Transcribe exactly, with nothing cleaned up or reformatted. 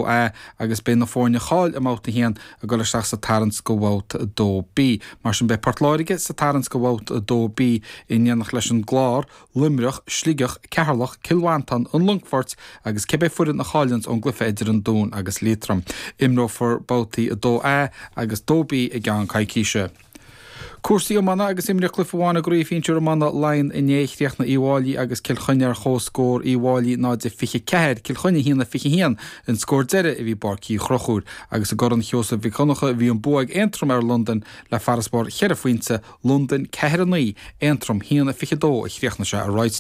A agus beidh na foirne a chaill i mbabhta a haon ag dul isteach sa tarraingt go babhta a dó B. Mar sin beidh Port Láirge sa tarraingt go babhta a dó B in éineacht leis an gClár, Luimneach, Sligeach, Ceatharlach, Cill Mhantáin, an Longfort agus cibé foireann a chailleanns ón gcluiche idir an Dún agus Liatroim. Imreofar babhtaí a dó A agus dó B i gceann coicíse. Cúrsaí iomána agus imríodh cluiche amháin i gCraobh Shinsir Iomána Laighean inné chríochnaigh Uíbh Fhailí agus Cill Chainnigh ar chomhscór Uíbh Fhailí náid a fiche ceathair, Cill Chainnigh a haon a fiche haon an scór deiridh a bhí i bPáirc Uí Chonchúir agus i gCorn Sheosaimh Mhic Dhonncha bhí an bua ag Aontroim ar Londain le farasbarr cheithre phointe, Londain ceathair a naoi, Aontroim haon a fiche dó a chríochnaigh sé a Royce.